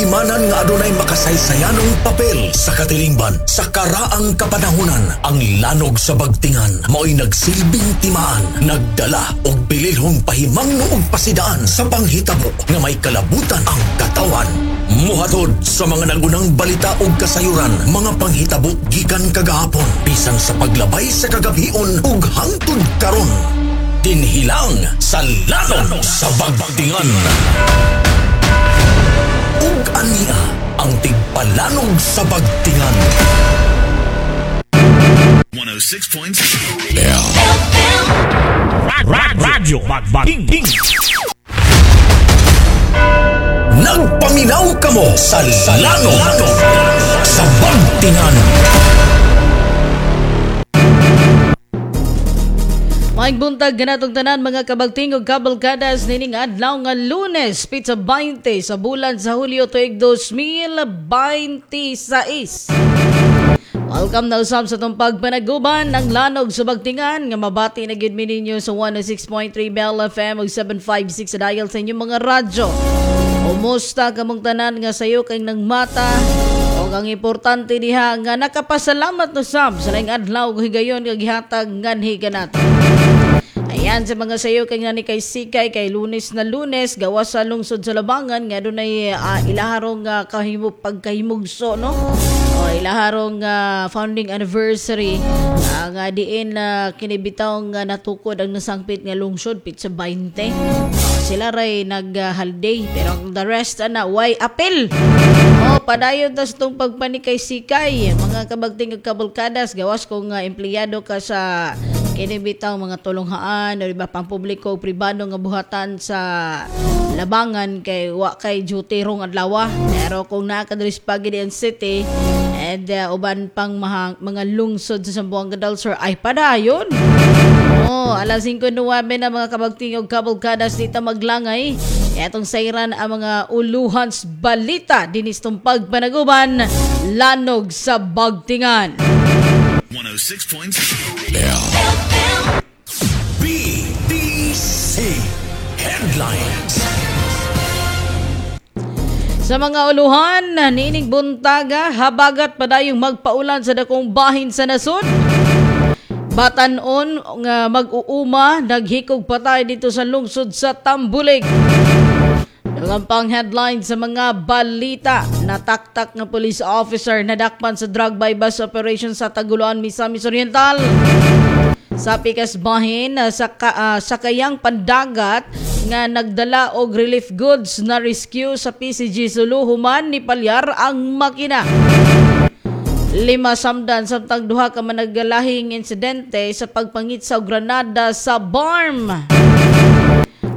kahimanan nga adunay makasaysayanong papel sa katilingban sa karaang kapanahunan. Ang lanog sa bagtingan mao'y nagsilbing timaan, nagdala og bililhong pahimangno og pasidaan sa panghitabo nga may kalabutan ang katawan. Muhatod sa mga nagunang balita og kasayuran, mga panghitabo gikan kagahapon, bisan sa paglabay sa kagabhion ug hangtod karon. Dinhilang sa lanog sa bagtingan. Ug ania ang tigpalanog sa bagtingan. 106.7. Radyo Bagbating. Nagpaminaw kamo sa lanog sa bagtingan. Maayong buntag ganatong tanan, mga kabagting ug kabalkadas, nining adlaw nga Lunes, pitsa 20 sa bulan sa Hulyo, tuig 2026. Welcome na usab sa atong pagpanaguban ng lanog sa bagtingan nga mabati na gid mi ninyo sa 106.3 Bell FM ug 756 sa dial sa inyong mga radyo. Kumusta kamong tanan nga sayo kay nang mata? O ang importante diha nga nakapasalamat no sab sa laing adlaw ug higayon nga gihatag nganhi kanato. Ayan, sa mga sayo kay nga ni kay Sikay kay Lunes na Lunes, gawas sa lungsod sa Labangan nga dunay ilaharong kahimo pagkahimugso, no? O ilaharong founding anniversary nga diin kinibitaw nga natukod ang nasangpit nga lungsod pitsa 20. Sila ray nag holiday pero ang the rest ana way apel. Oh, padayon tas tong pagpanikay sikay, mga kabagting ug kabalkadas, gawas kung empleyado ka sa kinibitaw mga tulonghaan o iba pang publiko o pribado nga buhatan sa Labangan kay wa kay duty rong adlaw. Pero kung naa ka diri sa Pagadian City and uban pang mga lungsod sa Zamboanga del Sur ay padayon. Oh, alas 5:09 na, mga kabagting ug kabalkadas, dita maglangay. Etong sayran ang mga uluhan sa balita dinis tong pagpanaguban lanog sa bagtingan. 106.7. BBC Headlines. Sa mga uluhan, niining buntaga, habagat padayong magpaulan sa dakong bahin sa nasod. Batanon nga mag-uuma naghikog patay dito sa lungsod sa Tambulig. Ang pang headline sa mga balita, nataktak nga police officer nadakpan sa drug buy bust operation sa Tagoloan, Misamis Oriental. Sa pikas bahin, sa kayang pandagat nga nagdala og relief goods na rescue sa PCG Sulu human ni palyar ang makina. 5 samdan samtang duha ka managlalahing insidente sa pagpangit sa granada sa BARMM.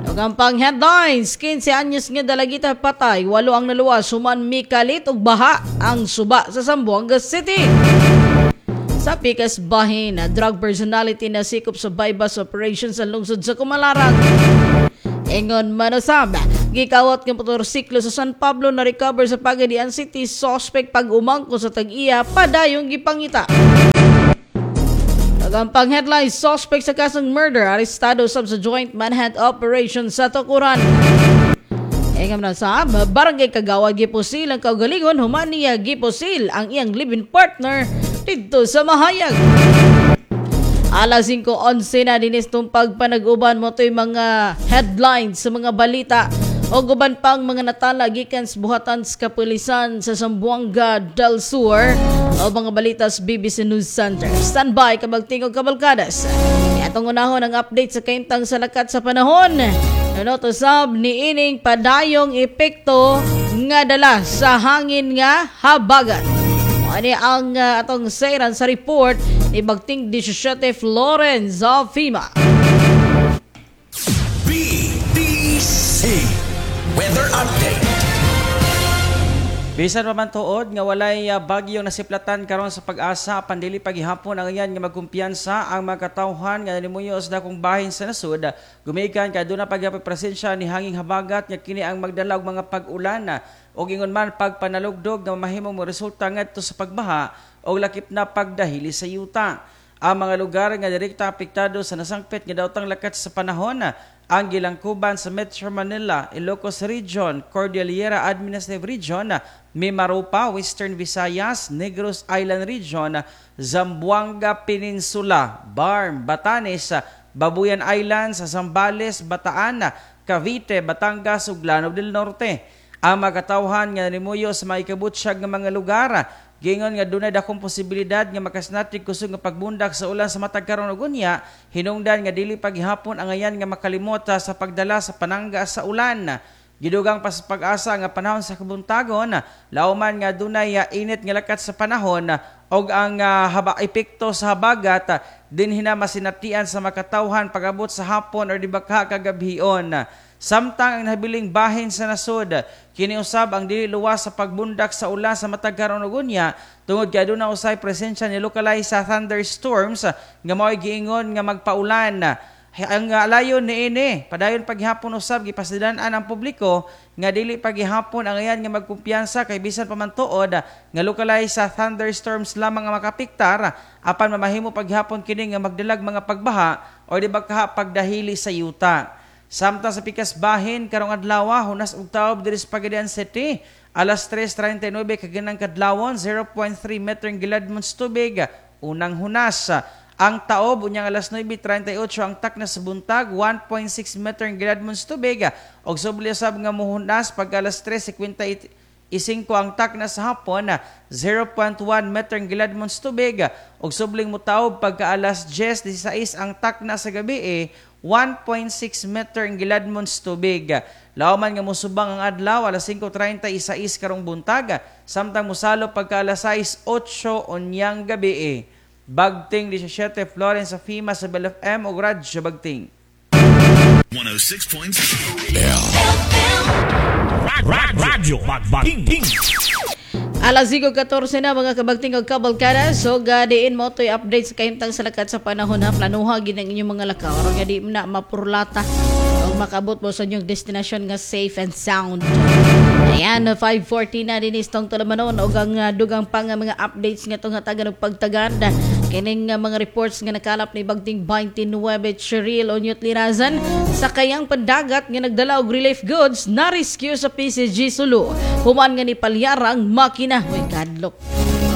Ug ang pang headlines, 15 anyos nga dalagita patay, 8 ang naluwas human mikalit og baha ang suba sa Zamboanga City. Sa pikas bahin, drug personality na sikop sa buy-bust operation sa lungsod sa Kumalarang. Ingon manusab, gikawat ng motorsiklo sa San Pablo na recover sa Pagadian City, suspect pag umangko sa tag-iya padayong gipangita. Pang headline, suspect sa kasong murder arestado sab sa joint manhunt operation sa Tukuran. Engam na sa barangay kagawad gipusil ang kaugalingon human niya gipusil ang iyang live-in partner didto sa Mahayag. Alas 5:11 na dinis tong pagpanag-uban mo to'y mga headlines sa mga balita o guban pang mga natala gikan sa buhatan sa kapulisan sa Zamboanga del Sur o mga balita sa BBC News Center. Standby, kabagting og kabalkadas. Atong unahon ang update sa kahimtang sa lakat sa panahon. Ano to sab ni ining padayong epekto nga dala sa hangin nga habagat. Ani ang atong sairan sa report ni Bagting 17 Florence of FEMA. BBC Weather Update. Bisan pa man tuod nga walay bagyong nasiplatan karon sa Pag-asa, pandili paghihapon ang iyan nga magkumpiyansa ang mga katawhan nga nalimuyo sa dakong bahin sa nasod, gumikan kay aduna pagyapon presensya ni hanging habagat nga kini ang magdala og mga pag-ulan ug ingon man pagpanalugdog nga mahimong moresulta ngadto sa pagbaha og lakip na pagdahili sa yuta. Ang mga lugar nga direkta apektado sa nasangpit nga daotang lakat sa panahon Ang gilangkuban sa Metro Manila, Ilocos Region, Cordillera Administrative Region, Mimaropa, Western Visayas, Negros Island Region, Zamboanga Peninsula, Barm, Batanes, Babuyan Islands, Zambales, Bataan, Cavite, Batangas ug Lanao del Norte. Ang makatawhan nga nimuyo sa maikabutsyag nga mga lugar, giingon nga dunay dakong posibilidad nga makasnatig kusog nga pagbundak sa ulan sa matag karon ug unya, hinungdan nga dili paghihapon angayan nga makalimot sa pagdala sa panangga sa ulan. Gidugang pa sa Pag-asa nga panahon sa kabuntagon, lauman nga dunay init nga lakat sa panahon og ang haba epekto sa habagat dinhi na masinatian sa makatawhan pag-abot sa hapon or di baka kagabhion. Samtang ang nabiling bahin sa nasod, kini usab ang dili luwas sa pagbundak sa ulan sa matag karon ug unya tungod kay aduna usay presensya ni localized sa thunderstorms nga mao'y giingon nga magpaulan. Ang alayon niini, padayon paghihapon usab gipasidan-an ang publiko nga dili paghihapon angayan nga magkumpiyansa kay bisan pa man tuod nga localized sa thunderstorms lamang ang makapiktar, apan mamahimo paghihapon kini nga magdalag mga pagbaha o di ba pagdahili sa yuta. Samtang sa pikas bahin karong adlaw, hunas og taob diri sa Pagadian City alas 3:39 kaganang kadlawon, 0.3 meter ang giladmon sa tubig unang hunas. Ang taob unyang alas 9:38 ang takna sa buntag, 1.6 meter ang giladmon sa tubig og subli usab nga muhunas pag alas 3:55 ang takna sa hapon, 0.1 meter ang giladmon sa tubig og subling mutaob pagka alas 10:16 ang takna sa gabi, 1.6 meter ang giladmon sa tubig. Lauman nga musubang ang adlaw alas 5:36 karong buntag, samtang musalo pagka alas 6:08 unyang gabi. Bagting 17, Florence sa FIMA sa Bell FM ug Radyo Bagting. 106.7. Radyo Bagting. Alas 5:14 na, mga kabagting og kabalkada. So diin mo to'y update sa kahimtang sa lakat sa panahon ha. Planuha gid ang inyong mga lakaw aron nga di na mapurlata og makabot mo sa inyong destination nga safe and sound. Ayan, 5:40 na din istong tulamanon og ang dugang pa nga mga updates nga itong hatagan og pagtaganda. Kining mga reports nga nakalap ni Bagting 29 Cheryl Onyot Lirazan sa kayang pandagat nga nagdala og relief goods na rescue sa PCG Sulu. Human nga ni palyarang makina. Uy, kadlok.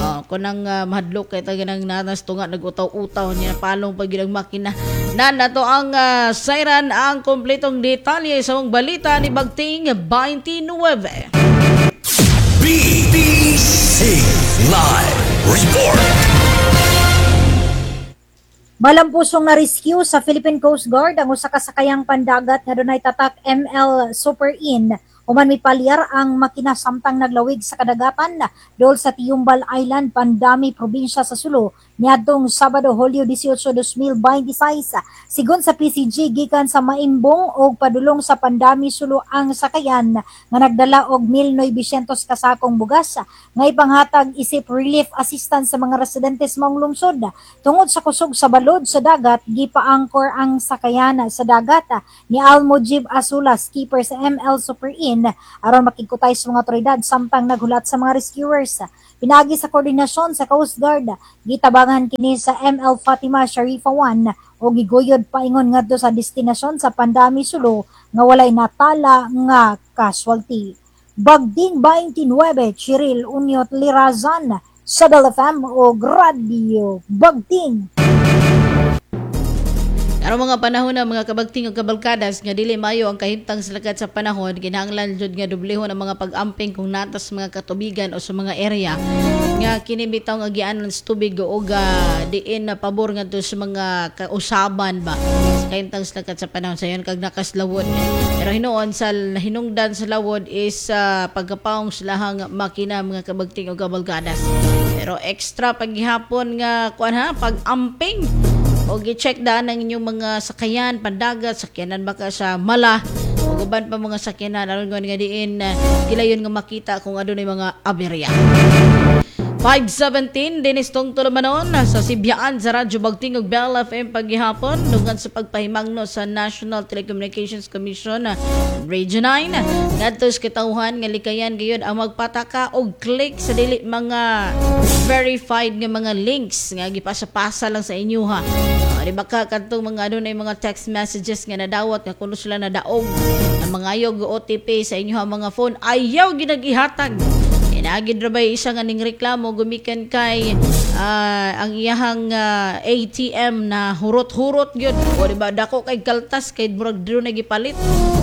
Oh, kunang mahadlok kay taga nang nanas tunga nagutaw-utaw niya palong pag ang makina. Na nato ang siren ang kompletong detalye sa mong balita ni Bagting 29. BBC Live Report. Malampusong na rescue sa Philippine Coast Guard ang usa ka sakayang pandagat nga dunay tatak ML Super Inn human mipalyar ang makina samtang naglawig sa kadagatan dool sa Tiyumbal Island, Pandami, probinsya sa Sulu niadtong Sabado, Hulyo 18, 2026. Sigon sa PCG, gikan sa Maimbong og padulong sa Pandami, Sulu ang sakayan nga nagdala og 1,900 kasakong bugas nga ipanghatag isip relief assistance sa mga residente sa maong lungsod. Tungod sa kusog sa balod sa dagat, gipa-anchor ang sakayan sa dagat ni Al Mujib Asula, skipper sa ML Super Inn, aron makigkutay sa mga otoridad samtang naghulat sa mga rescuers. Pinagi sa koordinasyon sa Coast Guard, gitabangan kini sa ML Fatima Sharifa 1 o giguyod paingon ngadto sa destinasyon sa Pandami, Sulu nga walay natala nga casualty. Bagding 29, Cheryl Unyot Lirazan sa Bell FM o Radyo Bagding. Karong mga panahon na, mga kabagting ug kabalkadas, nga dili mayo ang kahimtang sa lakat sa panahon, kinahanglan jud nga dublehon ang mga pag-amping kung natas mga katubigan o sa mga area nga kini bitaw nga agianan sa tubig o diin na pabor ngadto sa mga kausaban ba sa kahimtang sa lakat sa panahon sayon kag nakaslawod. Pero hinuon sa hinungdan sa lawod is pagkapaong sa lahang makina, mga kabagting ug kabalkadas. Pero extra paghihapon nga kuan ha, pag-amping o gi-check daan ang inyong mga sakayan, pandagat, sakyanan baka sa mala, o uban pa mga sakyanan aron nga diin kilayon nga makita kung adunay mga aberya. 5:17 Dennis Tong Tulumanon sa Sibyaan sa Radyo Bagting ug Bell FM paghihapon dungan sa pagpahimangno sa National Telecommunications Commission Region 9 ngadto sa katawhan nga likayan gayud ang magpataka og click sa dili mga verified nga mga links nga gipasa-pasa lang sa inyo ha. O, di ba ka kadtong mga ano na yung mga text messages nga nadawat nga kuno sila nadaog ang mga ayog OTP sa inyong mga phone, ayaw ginagihatag. Inagid ra bay isa nga ning reklamo gumikan kay ang iyahang ATM na hurot-hurot gyud. O di ba dako kay kaltas kay murag diri na gipalit.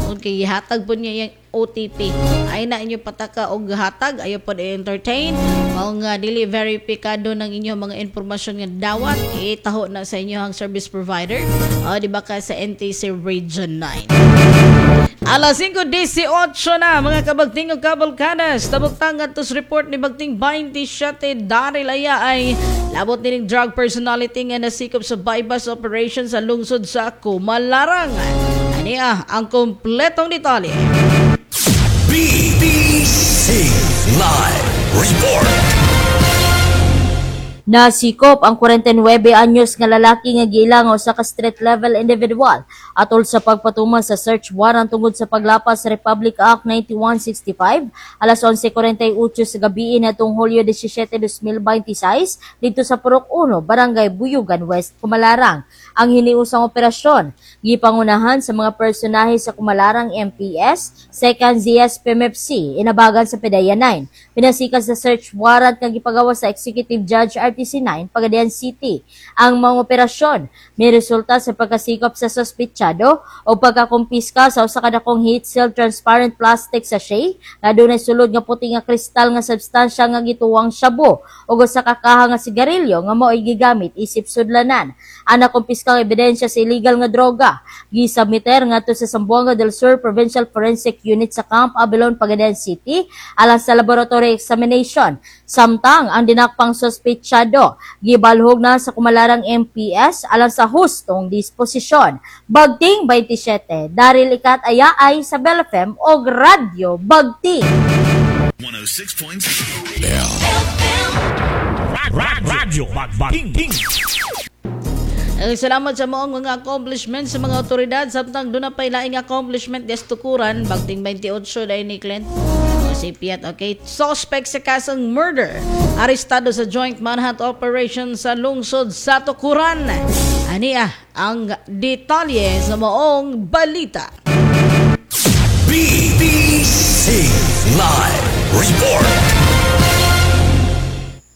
Kung kay gihatag po niya iyang OTP. Ay na inyo pataka og hatag, ayaw pod i-entertain. Mao nga dili veripikado ng inyong mga impormasyon nga dawat, itaho na sa inyong service provider. O di ba ka sa NTC Region 9. Alas 5:18 na, mga kabagting ug kabalkanas. Tabok-tang tos report ni Bagting 27 Daryl Aya ay labot nining drug personality nga nasikop sa bypass operation sa lungsod sa Kumalarang. Ania ang kompletong detalye. BBC Live Report. Nasikop ang 49 anyos nga lalaki nga giilang usa ka street level individual atol sa pagpatuman sa search warrant tungod sa paglapas sa Republic Act 9165 alas 11:48 sa gabi natong Hulyo 17, 2026 dito sa Purok 1, Barangay Buyugan West, Kumalarang. Ang hiniusang operasyon gipangunahan sa mga personahe sa Kumalarang MPS, 2nd ZS PMFC, inabagan sa PDEA 9. Pinasikat sa search warrant nga gipagawa sa Executive Judge RTC 9, Pagadian City. Ang mga operasyon may resulta sa pagkasikop sa sospitsado o pagkakumpiska sa usa ka dakong heat seal transparent plastic sachet nga dunay sulod nga puti nga kristal nga substansya nga gituwang shabu ug usa ka kaha nga sigarilyo nga mao'y gigamit isip sudlanan. Ang nakumpiskang ebidensya sa illegal nga droga gisubmiter ngadto sa Zamboanga del Sur Provincial Forensic Unit sa Camp Abilon, Pagadian City alang sa laboratory examination. Samtang ang dinakpang sospitsado gibalhog na sa Kumalarang MPS alang sa hustong disposisyon. Bagting 27, Daryl Ikat Ayaay sa Bell FM og Radyo Bagting. 106.7. Radyo Bagting. Salamat sa maong mga accomplishment sa mga otoridad samtang doon na pa'y laing accomplishment des tukuran Bagting 28 dahil ni Clint. O, si Piat, okay. Suspect sa kasong murder. Arestado sa joint manhunt operation sa lungsod sa Tukuran. Ania ang detalye sa maong balita. BBC Live Report.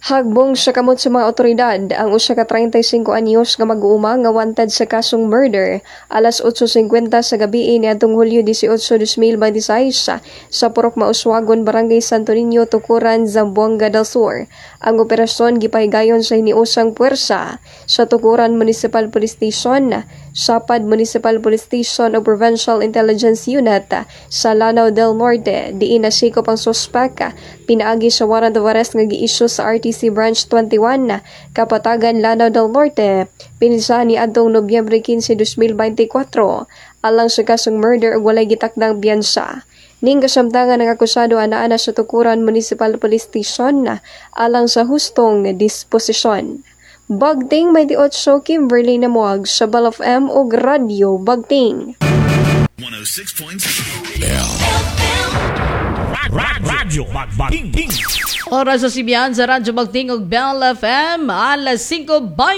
Hagbong sa kamot sa mga otoridad ang usa ka 35 anyos nga mag-uuma nga wanted sa kasong murder alas 8:50 sa gabi niadtong Hulyo 18, 2026 sa Purok Mauswagon, Barangay Santo Niño, Tukuran, Zamboanga del Sur. Ang operasyon gipahigayon sa hiniusang puwersa sa Tukuran Municipal Police Station, Sapad Municipal Police Station ug Provincial Intelligence Unit sa Lanao del Norte diin nasikop ang suspek pinaagi sa warrant of arrest nga gi-issue sa RTC Branch 21, Kapatagan, Lanao del Norte pinsa ni adtong Nobyembre 15, 2024 alang sa kasong murder ug walay gitakdang biyansa. Ning kasamtangan, ang akusado anaa na sa Tukuran Municipal Police Station alang sa hustong disposisyon. Bagting 28, Kimberly Namuag sa Bell FM ug Radyo Bagting. 106.7. Radyo Bagting. Oras sa Sibiyan sa Radyo Bagting ug Bell FM alas 5.